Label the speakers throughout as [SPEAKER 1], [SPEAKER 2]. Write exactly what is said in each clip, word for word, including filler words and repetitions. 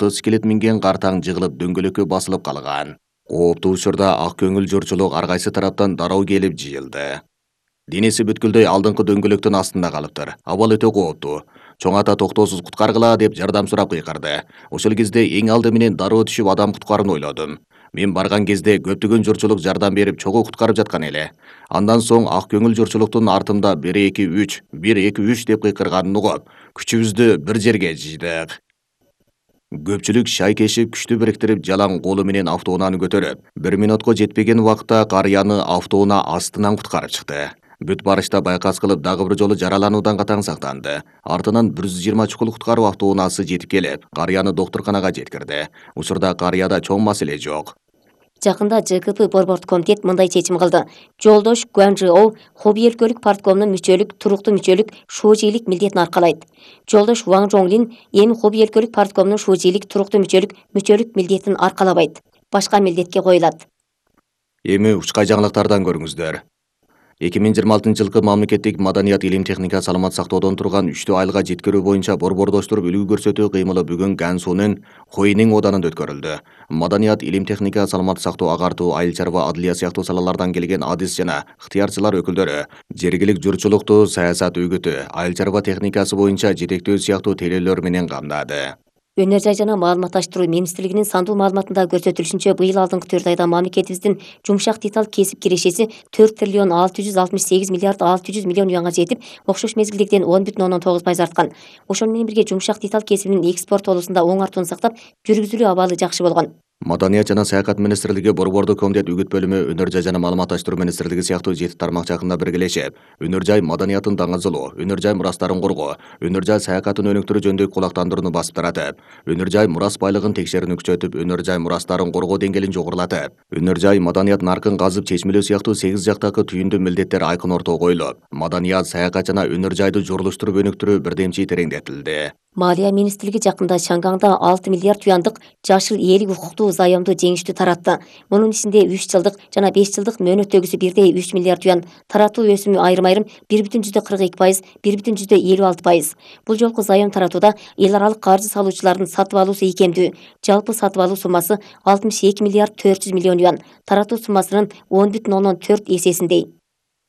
[SPEAKER 1] мотоциклет минген картаң жыгылып дөңгөлөккө басылып калган. Кооптуу учурда ак көңүл журчулук ар кайсы тараптан дароо келип жыйылды. Денеси бүткүлдөй алдыңкы дөңгөлөктүн астында калыптыр. Абал өтө кооптуу. Чоң ата токтоосуз куткаргыла деп жардам сурап кыйкырды. Ошол кезде эң алды менен дароо түшүп адам куткарууну ойлодум. Мен барган кезде көптөгөн журчулук жардам берип чогуу куткарып жаткан эле. Андан соң ак көңүл журчулуктун артымда бир эки үч, бир эки үч деп кыйкырганын угуп, күчүбүздү бир жерге жыйдык. Көпчүлүк шай кешип күчтү бириктирип жалаң колу менен автоунааны көтөрүп, бир минутка жетпеген убакытта карыяны автоунаа астынан куткарып чыкты. Бүт барышта байкас кылып дагы бир жолу жаралануудан катаң сактанды. Артынан бир жүз жыйырма чукул куткаруу автоунаасы жетип келип, карыяны доктурканага жеткирди. Учурда карыяда чоң маселе жок.
[SPEAKER 2] Жакында ЖКП борбордук комитет мындай чечим кылды. Жолдош Гуанжиоу хобби өлкөлүк парткомунун мүчөлүк, туруктуу мүчөлүк, шуужийлик милдетин аркалайт. Жолдош Ван Жоңлин эми хобби өлкөлүк парткомунун шуужийлик, туруктуу мүчөлүк, мүчөлүк милдетин аркалабайт. Башка милдетке коюлат.
[SPEAKER 1] Эми учкай жаңылыктардан көрүңүздөр. эки миң жыйырма алтынчы жылкы мамлекеттик маданият, илим, техника, саламат сактоодон турган үчтүү айылга жеткирүү боюнча борбордоштуруп үлгү көрсөтүү кыймылы бүгүн Гансунун Хойнин оданында өткөрүлдү. Маданият, илим, техника, саламат сактоо, агартуу, айыл чарба, адылия сыяктуу салалардан келген адис жана ыктыярчылар өкүлдөрү жергилик журчулукту саясат үгүтү, айыл чарба техникасы боюнча жетектөө сыяктуу тейлөөлөр менен камдады.
[SPEAKER 2] Өнөр жай жана маалыматташтыруу министрлигинин сандуу маалыматында көрсөтүлүшүнчө, быйыл алдыңкы төрт айда мамлекетибиздин жумшак деталь кесип кирешеси төрт триллион алты жүз алтымыш сегиз миллиард алты жүз миллион юанга жетип, окшош мезгилдегиден он бүтүн ондон тогуз пайыз арткан. Ошону менен бирге жумшак деталь кесибинин экспорт болуусунда оң артууну сактап, жүргүзүлүү абалы жакшы болгон.
[SPEAKER 1] Маданият жана саякат министрлиги, борбордук комитет үгүт бөлүмү, өнөр жай жана маалыматташтыруу министрлиги сыяктуу жети тармак жакында биргелешип, өнөр жай маданиятын даңазалоо, өнөр жай мурастарын коргоо, өнөр жай саякатын өнүктүрүү жөнүндө кулактандырууну басып таратып, өнөр жай мурас байлыгын текшерүүнү күчөтүп, өнөр жай мурастарын коргоо деңгээлин жогорулатып, өнөр жай маданият наркын казып чечмелөө сыяктуу сегиз жактагы түйүндүү милдеттер айкын ортого коюлуп, маданият, саякат жана өнөр жайды журулуштуруп өнүктүрүү бирдемчи тереңдетилди.
[SPEAKER 2] Малия министрлиги жакында Шангаңда алты миллиард юандык жашыл ээлик укуктуу заемду жеңиштүү таратты. Мунун ичинде үч жылдык жана беш жылдык мөөнөттөгүсү бирдей үч миллиард юан, таратуу өсүмү айрым айрым бир бүтүн жүздө кырк эки пайыз, бир бүтүн жүздө элүү алты пайыз. Бул жолку заем таратууда эл аралык каржы салуучулардын сатып алуусу ийкемдүү. Жалпы сатып алуу суммасы алтымыш эки миллиард төрт жүз миллион юан, таратуу суммасынын он бүтүн ондон төрт эсесиндей.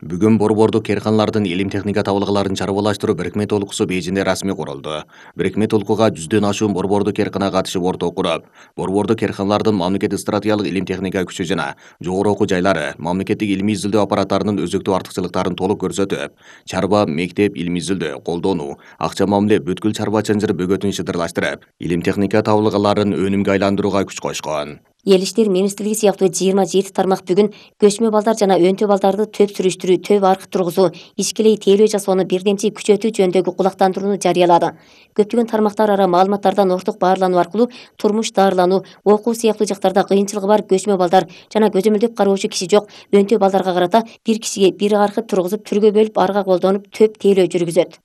[SPEAKER 1] Бүгүн борбордук керканалардын илим техника табылгыларын чарбалаштыруу бирикме толкусу Бейжиңде расмий курулду. Бирикме толкууга жүздөн ашуун борбордук керкана катышып орток куруп, борбордук керканалардын мамлекеттик стратегиялык илим техника күчү жана жогору окуу жайлары, мамлекеттик илимий изилдөө аппараттарынын өзөктүү артыкчылыктарын толук көрсөтүп, чарба, мектеп, илимий изилдөө, колдонуу, акча мамиле бүткүл чарба чынжыр бөгөтүн шыдырлаштырып, илим техника табылгыларын өнүмгө айландырууга күч койшкон.
[SPEAKER 2] Эл иштери министрлиги сыяктуу жыйырма жети тармак бүгүн көчмө балдар жана өнтө балдарды төп сүрүштүрүү, төп аркы тургузуу, ичкилей тейлөө жасоону бирдемчи күчөтүү жөнүндөгү кулактандырууну жарыялады. Көптөгөн тармактар ара маалыматтардан орток баарлануу аркылуу турмуш, даарылануу, окуу сыяктуу жактарда кыйынчылыгы бар көчмө балдар жана көзөмөлдөп кароочу киши жок өнтө балдарга карата бир кишиге бир аркы тургузуп, түргө бөлүп, арга колдонуп төп тейлөө жүргүзөт.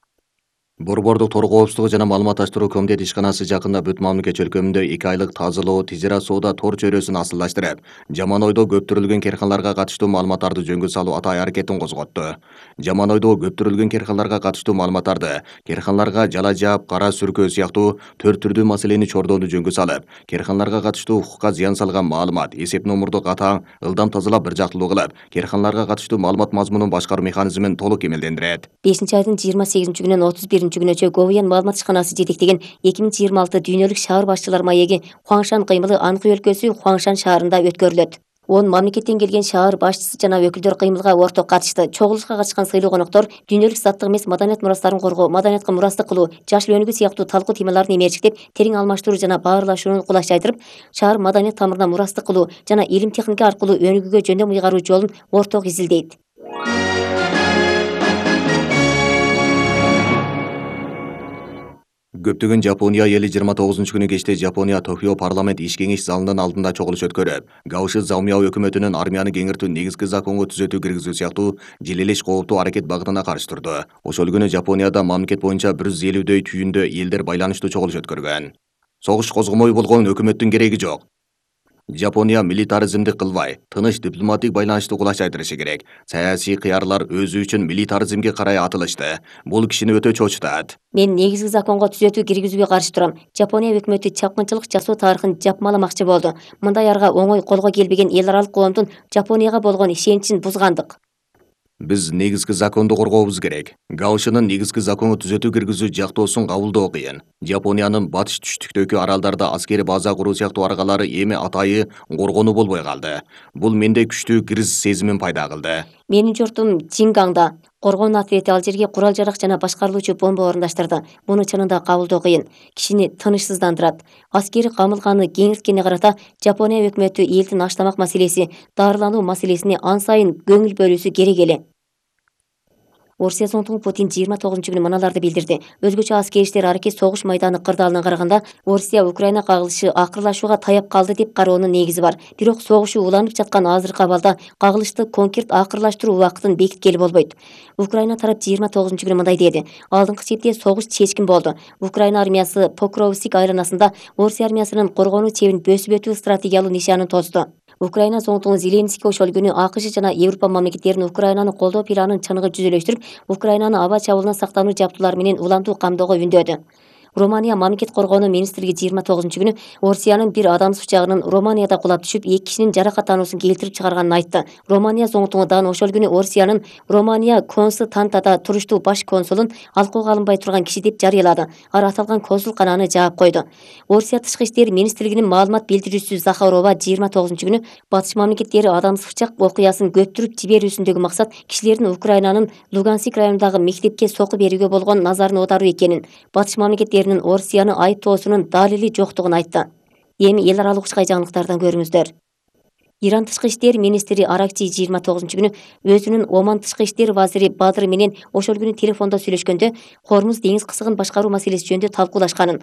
[SPEAKER 1] Борбордук торгоо коопсуздугу жана маалыматташтыруу комитет ишканасы жакында бүт мамлекет чөлкөмүндө эки айлык тазалоо, тижерат соода тор чөйрөсүн асылдаштырып, жаман ойдо көптүрүлгөн керканаларга катыштуу маалыматтарды жөнгө салуу атай аракетин козготту. Жаман ойдо көптүрүлгөн керканаларга катыштуу маалыматтарды керканаларга жала жаап, кара сүркөө сыяктуу төрт түрдүү маселени чордоону жөнгө салып, керканаларга катыштуу укукка зыян салган маалымат, эсеп номурду катаң, ылдам тазалап бир жактылуу кылып, керканаларга катыштуу маалымат мазмунун башкаруу механизмин толук кемелдендирет.
[SPEAKER 2] бешинчи айдын жыйырма сегизинчи күнүнөн отуз биринчи күнүнчө Говьян маалымат ишканасы жетектеген эки миң жыйырма алты дүйнөлүк шаар башчылар маеги Хуаңшан кыймылы Анхый өлкөсү Хуаңшан шаарында өткөрүлөт. он мамлекеттен келген шаар башчысы жана өкүлдөр кыймылга орток катышты. Чогулушка катышкан сыйлуу коноктор дүйнөлүк заттык эмес маданият мурастарын коргоо, маданиятка мурастык кылуу, жашыл өнүгүү сыяктуу талкуу темаларын эмерчиктеп, терең алмаштыруу жана баарлашууну кулаш жайдырып, шаар маданият тамырына мурастык кылуу жана илим техника аркылуу өнүгүүгө жөндөм ыйгаруу жолун орток изилдейт.
[SPEAKER 1] Көптөгөн Жапония эли жыйырма тогузунчу күнү кечте Жапония Токио парламент иш кеңеш залынын алдында чогулуш өткөрүп, Гаоши Заумяо өкмөтүнүн армияны кеңиртүү негизги законго түзөтүү киргизүү сыяктуу желелеш кооптуу аракет багытына каршы турду. Ошол күнү Жапонияда мамлекет боюнча бир жүз элүүдөй түйүндө элдер байланыштуу чогулуш өткөргөн. Согуш козгомой болгон өкмөттүн кереги жок. Жапония милитаризмди кылбай, тыныч дипломатик байланышты кулачайтырышы керек. Саясий кыярлар өзү үчүн милитаризмге карай атылышты. Бул кишини өтө чочутат.
[SPEAKER 2] Мен негизги законго түзөтүү киргизүүгө каршы турам. Жапония өкмөтү чапкынчылык жасоо тарыхын жапмаламакчы болду. Мындай арга оңой колго келбеген эл аралык коомдун Жапонияга болгон ишеничин бузгандык.
[SPEAKER 1] Биз негизги законду коргообуз керек. Гаушинин негизги закону түзөтүү киргизүү жактоосун кабылдоо кыйын. Жапониянын батыш түштүктөгү аралдарда аскери база куруу сыяктуу аргалары эми атайы коргонуу болбой калды. Бул менде күчтүү криз сезимин пайда кылды.
[SPEAKER 2] Менин журтум Чингаңда коргонуу ответи ал жерге курал жарак жана башкарылуучу бомба орундаштырды. Муну чынында кабылдоо кыйын. Кишини тынычсыздандырат. Аскери камылганы кеңирткене карата Жапония өкмөтү элдин аштамак маселеси, дарылануу маселесине ан сайын көңүл бөлүүсү керек эле. Орусия зонтугу Путин жыйырма тогузунчу күнү мыналарды билдирди. Өзгөчө аскери иштер аракет согуш майданы кырдаалынан караганда Орусия Украина кагылышы акырлашууга таяп калды деп кароонун негизи бар. Бирок согушу уланып жаткан азыркы абалда кагылышты конкрет акырлаштыруу убактын бекиткели болбойт. Украина тарап жыйырма тогузунчу күнү мындай деди. Алдыңкы чепте согуш чечкин болду. Украина армиясы Покровск айланасында Орусия армиясынын коргонуу чебин бөсүп өтүү стратегиялуу нишанын тосду. Украина зонтугу Зеленский ошол күнү АКШ жана Европа мамлекеттеринин Украинаны колдоо планын чыныгы жүзөлөштүрүп, Украинаны аба чабуулунан сактануу жабдуулары менен улантуу камдоого үндөдү. Романия мамлекет коргоонуу министрлиги жыйырма тогузунчу күнү Орусиянын бир адамсыз учагынын Романияда кулап түшүп, эки кишинин жаракаттануусун келтирип чыгарганын айтты. Романия зонтугу дагы ошол күнү Орусиянын Романия Константада туруштуу баш консулун алкоого алынбай турган киши деп жарыялады. Ар аталган консулкананы жаап койду. Орусия тышкы иштер министрлигинин маалымат билдирүүчүсү Захарова жыйырма тогузунчу күнү батыш мамлекеттери адамсыз учак окуясын көптүрүп жиберүүсүндөгү максат кишилердин Украинанын Луганск районундагы мектепке соку берүүгө болгон назарын оодаруу экенин, батыш мамлекеттери Орусияны айыптоосунун далили жоктугун айтты. Эми эл аралык ушкай жаңылыктардан көрүңүздөр. Иран тышкы иштер министри Аракчи жыйырма тогузунчу күнү өзүнүн Оман тышкы иштер вазири Бадыр менен ошол күнү телефондо сүйлөшкөндө Хормуз деңиз кысыгын башкаруу маселеси жөнүндө талкуулашканын,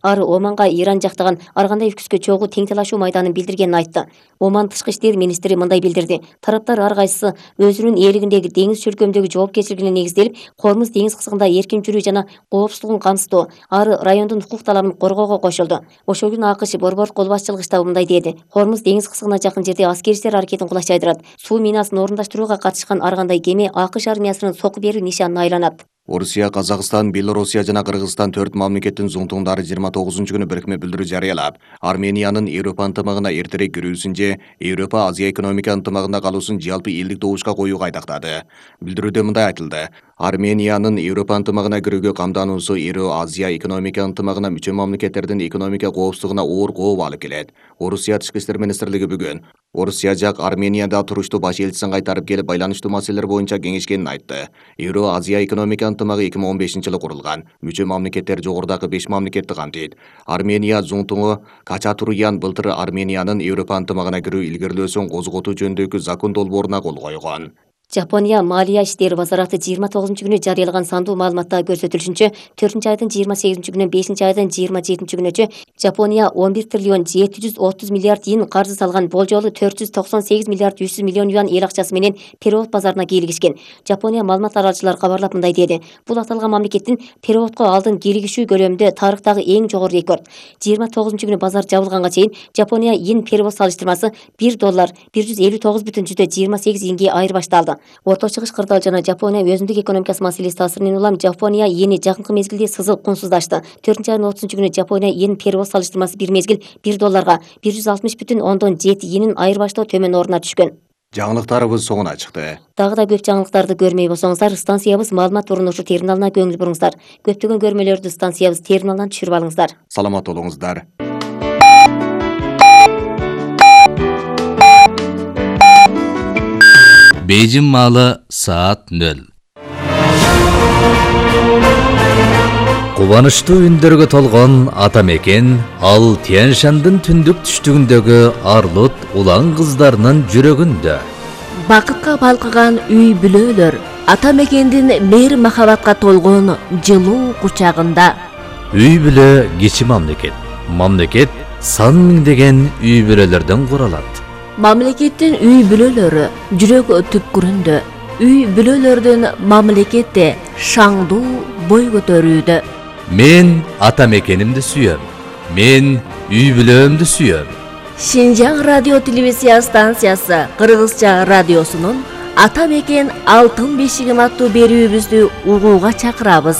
[SPEAKER 2] ары Оманга Иран жактаган ар кандай үкүскө чогуу тең талашуу майданын билдиргенин айтты. Оман тышкы иштер министри мындай билдирди. Тараптар ар кайсысы өзүнүн ээлигиндеги деңиз чөлкөмдөгү жоопкерчилигине негизделип, Хормуз деңиз кысыгында эркин жүрүү жана коопсуздугун камсыздоо, ары райондун укук талабын коргоого кошулду. Ошол күнү АКШ борбор кол башчылыгы штабы мындай деди. Хормуз деңиз кысыгына жакын жерде аскери иштер аракетин кулачайдырат. Суу минасын орундаштырууга катышкан ар кандай кеме АКШ армиясынын соку берүү нишанына айланат.
[SPEAKER 1] Орусия, Казакстан, Белоруссия жана Кыргызстан төрт мамлекеттин зонтугундары жыйырма тогузунчу күнү бирикме билдирүү жарыялап, Армениянын Европа ынтымагына эртерээк кирүүсүн же Европа Азия экономика ынтымагында калуусун жалпы элдик добушка коюуга айдактады. Билдирүүдө мындай айтылды. Армениянын Европа ынтымагына кирүүгө камдануусу Евро-Азия экономика ынтымагына мүчө мамлекеттердин экономика коопсуздугуна оор кооп алып келет. Орусия тышкы иштер министрлиги бүгүн Орусия жак Арменияда туруштуу баш элчисин кайтарып келип байланыштуу маселелер боюнча кеңешкенин айтты. Евро-Азия экономика ынтымагы эки миң он бешинчи жылы курулган. Мүчө мамлекеттер жогорудагы беш мамлекетти камтыйт. Армения зонтугу Качатурян былтыр Армениянын Европа ынтымагына кирүү илгерилөөсүн козготуу жөнүндөгү закон долбооруна кол койгон.
[SPEAKER 2] Жапония Малия иштери базараты жыйырма тогузунчу күнү жарыялаган сандуу маалыматта көрсөтүлүшүнчө, төртүнчү айдын жыйырма сегизинчи күнүнөн бешинчи айдын жыйырма жетинчи күнүнчө Жапония он бир триллион жети жүз отуз миллиард йен каржы салган, болжолу төрт жүз токсон сегиз миллиард жүз миллион юан эл акчасы менен перевод базарына кийлигишкен. Жапония маалымат аралчылары кабарлап мындай деди. Бул аталган мамлекеттин переводко алдын кийлигишүү көлөмүндө тарыхтагы эң жогору рекорд. жыйырма тогузунчу күнү базар жабылганга чейин Жапония йен перевод салыштырмасы бир доллар бир жүз элүү тогуз бүтүн жүздө жыйырма сегиз йенге айырбашталды. Орто чыгыш кырдаал жана Жапония өзүндүк экономикасы маселеси таасиринен улам Жапония йени жакынкы мезгилде сызыл кунсуздашты. төртүнчү айдын отузунчу күнү Жапония йен перевод салыштырмасы бир мезгил бир долларга бир жүз алтымыш бүтүн ондон жети йенин айырбаштоо төмөн ордуна түшкөн.
[SPEAKER 1] Жаңылыктарыбыз соңуна чыкты.
[SPEAKER 2] Дагы да көп жаңылыктарды көрмөй болсоңуздар, станциябыз маалымат урунушу терминалына көңүл буруңуздар. Көптөгөн көрмөлөрдү станциябыз терминалынан түшүрүп алыңыздар.
[SPEAKER 1] Саламат болуңуздар.
[SPEAKER 3] Бейжин маалы саат нөл. Кубанычтуу үндөргө толгон ата мекен ал Тянь-Шандын түндүк түштүгүндөгү арлут улан кыздарынын жүрөгүндө.
[SPEAKER 4] Бакытка балкыган үй бүлөлөр ата мекендин мейир махабатка толгон жылуу кучагында.
[SPEAKER 3] Үй бүлө кичи мамлекет. Мамлекет сан миңдеген үй бүлөлөрдөн куралат.
[SPEAKER 4] Мамлекеттин үй бүлөлөрү жүрөк түпкүрүндө. Үй бүлөлөрдүн мамлекетте шаңдуу бой көтөрүүдө.
[SPEAKER 3] Мен ата мекенимди сүйөм. Мен үй бүлөмдү сүйөм.
[SPEAKER 4] Шинжаң радио телевизия станциясы Кыргызча радиосунун Ата мекен алтын бешигим аттуу берүүбүздү угууга чакырабыз.